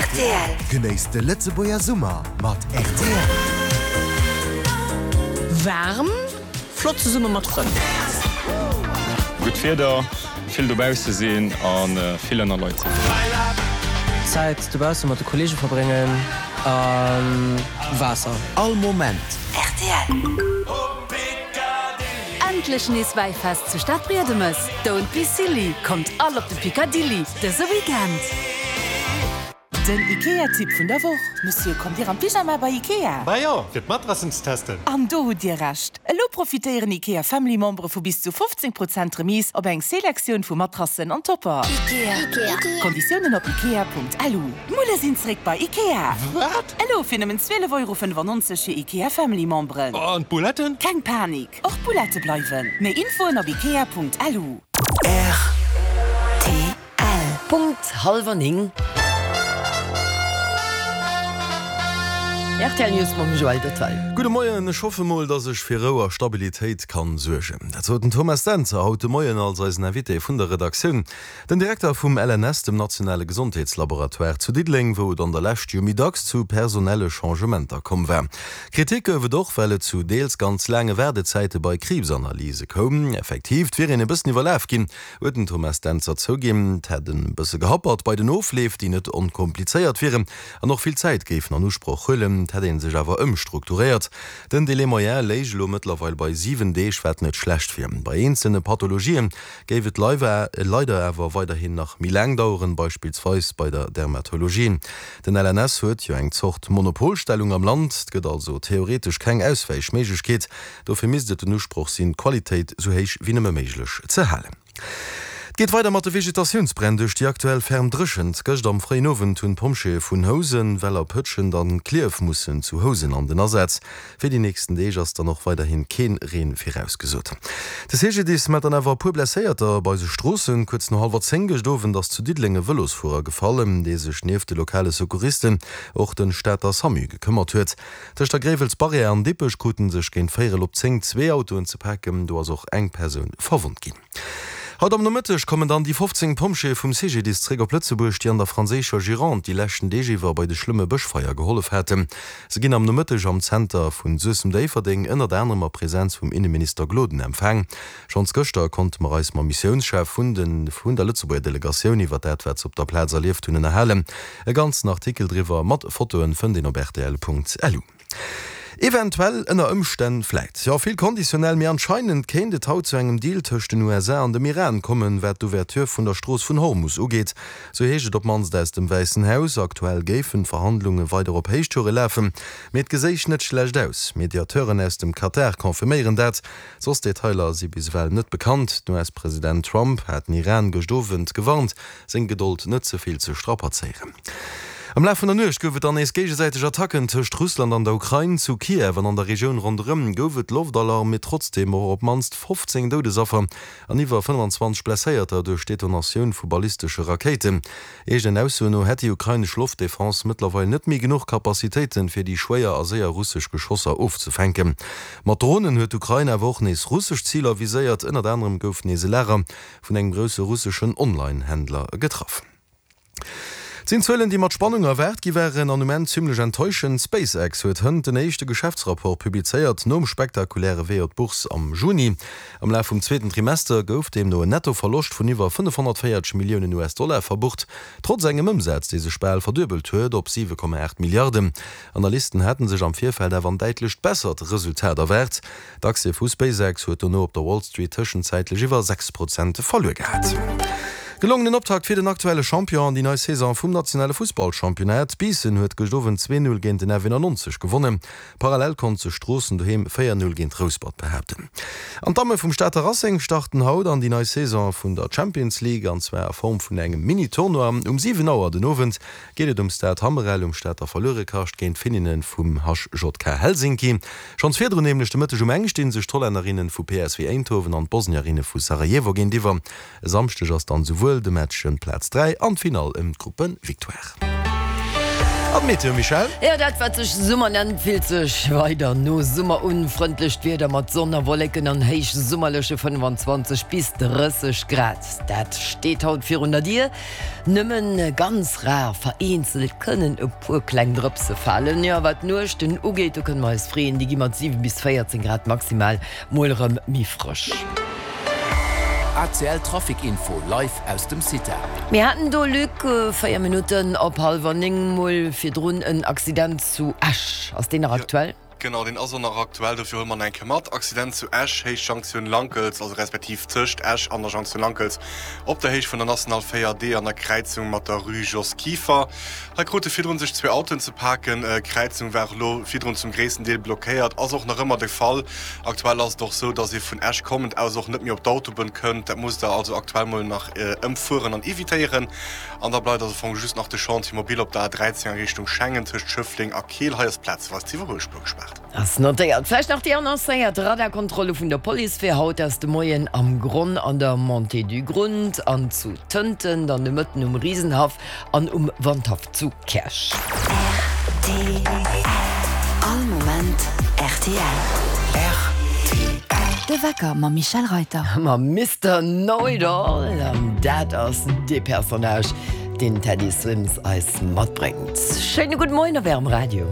Rtl. Genéisst de Lëtzebuerger Summer mat rtl. Waarm, flott zesumme mat Frënn. Gutt Wieder, vill dobausse sinn a vill ënner Leit sinn. Zäit dobausse mat de Kollege verbréngen a Waasser. All Moment. Rtl. Endlech nees Wäifest zu Stadbriedemes! Don't be silly, kommt all op de Picadilly dëse Weekend! Den Ikea-Tipp vun der Woch, Monsieur, kommt Dir am Pyjama bei Ikea? Bah jo, fir d'Matrassen ze testen. An do hutt Dir Recht! Elo profitéieren Ikea Family Membere vu bis zu 15 Prozent Remise op eng Selektioun vu Matrassen an Topper. Konditiounen op ikea.lu. D'Mulle sinn zréck bei Ikea! Wat? Elo fir nëmmen 12,95 Euro fir Ikea Family Memberen. An d'Bouletten? Keng Panik, och d'Boulette bleiwen. Méi Infoen op ikea.lu. Rtl. Punkt hallwer 9. Rtl News mam Joël Detail. Gudde Moien, ech hoffe mol, dass ech fir Rou a Stabilitéit kann suergen. Dat sot den Thomas Dentzer haut de Moien als eisen Invité vun der Redaktioun. Den Direkter vum LNS, dem nationale Gesondheetslaboratoire zu Diddeleng, wou et an der Lescht jo méi dacks zu personelle Changementer komm war. Kritik gouf et och, well et zu deels ganz laange Waardezäite bei Kriibsanalyse koum. Effektiv, 't wier een e bëssen iwwerlaf ginn, huet den Thomas Dentzer zouginn. 't hätt e bësse gehappert bei den Ofleef, déi net onkomplizéiert wieren an och vill Zäit géifen an Usproch huelen. 't hätt ee sech awer ëmstrukturéiert. Den Délai moyen léich elo mëttlerweil bei 7 Deeg, wat net schlecht wier. Bei eenzelne Pathologien Géif et leider awer weiderhin nach méi laang daueren, beispillsweis bei der Dermatologie. Den LNS huet jo eng Zort Monopolstellung am Land, et gëtt also theoretesch keng Auswäichméiglechkeet. Dofir misst et den Usproch sinn, d'Qualitéit sou héich wéi nëmme méiglech ze halen. Et geet weider mat de Vegetatiounsbränn duerch déi aktuell ferm Dréchent. Gëscht am fréien Owend hunn d'Pompjeeë vun Housen, Weller, Pëtschent an Klierf mussen zu Housen an den Asaz. Fir déi nächsten Deeg ass dann och weiderhin keen Reen virausgesot. De CGDIS mellt dann awer e puer Blesséierter op eise Stroossen. Kuerz no hallwer 10 gëscht Owend ass zu Diddeleng e Vëlosfuerer gefall, dee sech nieft de lokale Secouristen och den Stater Samu gekëmmert huet. Tëscht der Gréiwels Barrière an Dippech kruten sech géint véierel op 10 zwee Autoen ze paken, do ass och eng Persoun verwonnt ginn. Haut am Nomëtteg kommen dann déi 15 Pompjeeë vum CGDIS zréck op Lëtzebuerg, déi an der franséischer Gironde déi leschten Deeg iwwer bei de schlëmme Bëschfeier gehollef haten. Se ginn am Nomëtteg am Zenter vun Suessem-Déifferdeng ënnert anerem a Presenz vum Inneminister Gloden empfaang. Schonns gëschter konnte mer eis mam Missiounschef vun de vun der Lëtzebuerger Delegatioun iwwer dat wat se op der Plaz erlieft hunn ënnerhalen. E ganzen Artikel driwwer mat Fotoen fënnt een op rtl.lu. Eventuell, ënner Ëmstänn, vläit, jo, vill konditionell, mee anscheinend kéint et haut zu engem Deal tëscht den USA an dem Iran kommen, wat d'Ouverture vun der Strooss vun Hormus ugeet. Sou heescht et op d'mannst aus dem Wäissen Haus. Aktuell géifen d'Verhandlunge weider op Héichtoure lafen, mee et geséich net schlecht aus. Mediateuren aus dem Katar confirméieren dat. Soss Detailer si bis ewell net bekannt. Den US-President Trump hat den Iran gëscht Owend gewarnt, seng Gedold net ze vill ze strapazéieren. Am Laf vun der Nuecht gouf et dann nees géigesäiteg Attacken tëscht Russland an der Ukrain. Zu Kiew an an der Regioun ronderëm gouf et Loftalarm, mee trotzdeem och op d'mannst 15 Doudesaffer an iwwer 25 Blesséierter duerch d'Detonatioun vu ballistesche Rakéiten. Eegenen Aussoen no hätt déi ukrainesch Loftdefense mëttlerweil net méi genuch Capacitéiten, fir déi schwéier a séier russesch Geschosser ofzefänken. Mat Dronen huet d'Ukrain awer och nees russesch Ziler viséiert. Ënnert anerem gouf nees e Lager vun engem grousse russeschen Online-Händler getraff. Et sinn Zuelen, déi mat Spannung erwaart gi waren an um Enn zimmlech enttäuschend. SpaceX huet hënt den éischte Geschäftsrapport publizéiert, nom spektakuläre Wee op d'Bourse am Juni. Am Laf vum zweeten Trimester gouf deemno en Nettoverloscht vun iwwer 540 Milliounen US-Dollar verbucht, trotz engem Ëmsaz, dee sech bal verduebelt huet op 7,8 Milliarden. Analysten haten sech am Virfeld awer en däitlecht bessert Resultat erwaart. D'Aktie vu SpaceX huet dono op der Wall Street tëschenzäitlech iwwer 6 Prozent verluer gehat. Gelongenen Optakt fir den aktuelle Champion an déi nei Saison vum nationale Fussballchampionnat. Biissen huet gëscht Owend 2, 0 géint den FV 90 gewonnen. Parallel konnt sech Stroossen doheem 4, 0 géint Rouspert behaapten. An d'Damme vum Stater Racing starten haut an déi nei Saison vun der Champions League an zwar a Form vun engem Mini-Tournoi. Um 7 Auer den Owend geet et um Stade Hammerel um Stater Verluerekascht géint d'Finninne vum HJK Helsinki. Schonns virdrun, nämlech de Mëtteg um eng, sti sech d'Hollännerinne vu PSV Eindhoven an d'Bosnierinne vu Sarajevo géintiwwer. E Samschdeg ass dann souwuel de Match ëm d'Plaz 3 an d'Finall ëm d'Gruppevictoire. An d'Meteo, Michèle? Jo, dat wat sech Summer nennt, fillt sech weider no Summer un. Frëndlecht Wieder mat Sonn a Wolleken an héichsummerleche 25 bis 30 Grad, dat steet haut virun der Dier. Nëmmen ganz rar vereenzelt kënnen e puer kleng Drëpse falen. Jo, wat d'Nuechten ugeet, do kënne mer eis freeën, déi gi mat 7 bis 14 Grad maximal mol erëm méi frësch. ACL Trafic Info live aus dem CITA. Mir haten do, Luc, 4 Minutten op hallwer 9 mol virdrun en Accident zu Esch. Ass deen nach aktuell? Genau, deen ass och nach aktuell, dofir huele mer en eng Kéier mat. Accident zu Esch, Héicht Jonktioun Lankels, also respektiv tëscht Esch an der Jonktioun Lankels, op der Héicht vun der National 4D an der Kräizung mat der Rue Jos Kieffer. Hei krute virdrun sech zwee Autoen ze paken. D'Kräizung war elo virdrun zum gréissten Deel blockéiert, ass och nach ëmmer de Fall. Aktuell ass et och sou, dass ee vun Esch kommend aus och net méi op d'Autobunn kënnt. Dat musst der also aktuell mol nach ëmfueren an evitéieren. An da bleift also am Fong just nach de Chantier mobile op der A13 a Richtung Schengen tëscht Schëffleng a Keel. Hei ass plazeweis d'Iwwerhuelspuer gespaart. Ass notéiert. Vläicht nach déi annoncéiert Radarkontrolle vun der Police fir haut aus de Moien am Gronn an der Montée du Grund an zu Tënten, dann de Mëtten um Riesenhaff an um Wandhaff zu Käerch. Rtl. All Moment rtl. Rtl. De Wecker mam Michèle Reyter. Mam Mister Know It All. An dat ass dee Personnage, deen d'Teddy Swims eis matbréngt. Schéine gudde Moien op Ärem Radio.